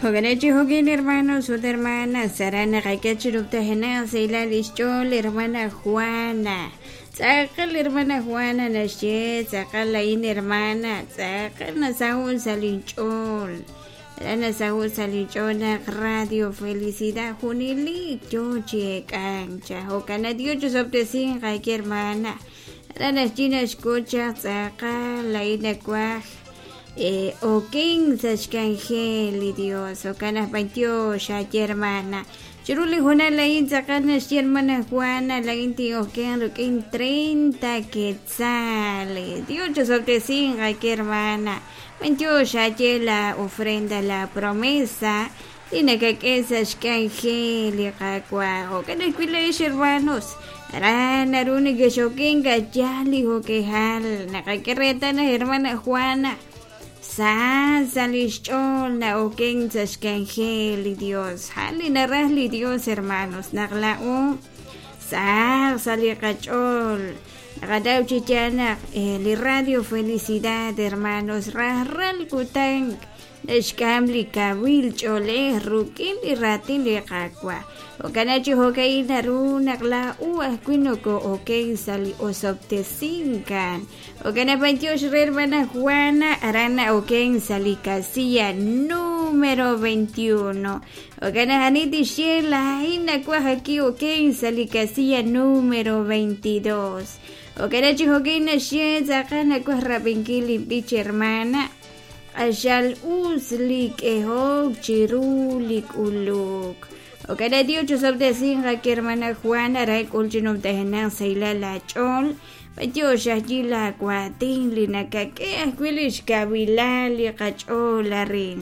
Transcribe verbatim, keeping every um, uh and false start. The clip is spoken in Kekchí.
Jo'kan chi hermanos ut hermanas aran naqak'e chi numtajenaq sa' lix ch'ool hermana Juana. Tz'aqal hermana Juana naxye tz'aqal lain hermana tz'aqal nasaho' sa' linch'ool aran nasaho' sa' linch'ool naq Radio Felicidad junelik yo chi ek'ank cha jo'kan Dios chusob'tesinq ayke hermana aran naxye naxk'ut chaq tz'aqal lain nawaj Eh, oken sa' xk'anjel li Dios jo'kan aj b'antiox aye hermana chiru li junal lain tz'aqal naxye hermana Juana lain tin'oken ruk'in treinta quetzales Dios chusob'tesinq ayke hermana b'antiox aye la ofrenda la promesa li nakak'e sa' xk'anjel li Qaawa' jo'kan ajwi' la'ex hermanos aran naru nekexoken ka'yal li jo'kejal naqak'e reetal naq hermana Juana sa sa' lix ch'ool na'oken sa' xk'anjel li Dios ja'an li naraj li Dios hermanos naq la'o saq sa' li qach'ool naqataw chi yaal naq li Radio Felicidad hermanos rajlal kutan naxk'am li kawil ch'oolej ruk'in li raatin li Qaawa' jo'kan chi jo'ka'in naru naq la'u ajwi' noko'oken sa' li osob'tesinkan jo'kan naq b'antiox re hermana Juana aran na'oken sa' li casilla número veintiuno jo'kan naq ani tixye lain nawaj aki oken sa' li casilla número veintidós jo'kan chi jo'ka'in naxye tz'aqal nawaj rab'inkil linb'ich hermana q'axal us li k'ehok chiru li k'uluk jo'kan Dios chusob'tesinq ayke hermana Juana aran k'ul chi numtajenaq sa' la ch'ool b'antiox ajyi la waatin li nakak'e ajwi' lix kawilal li qach'ool arin.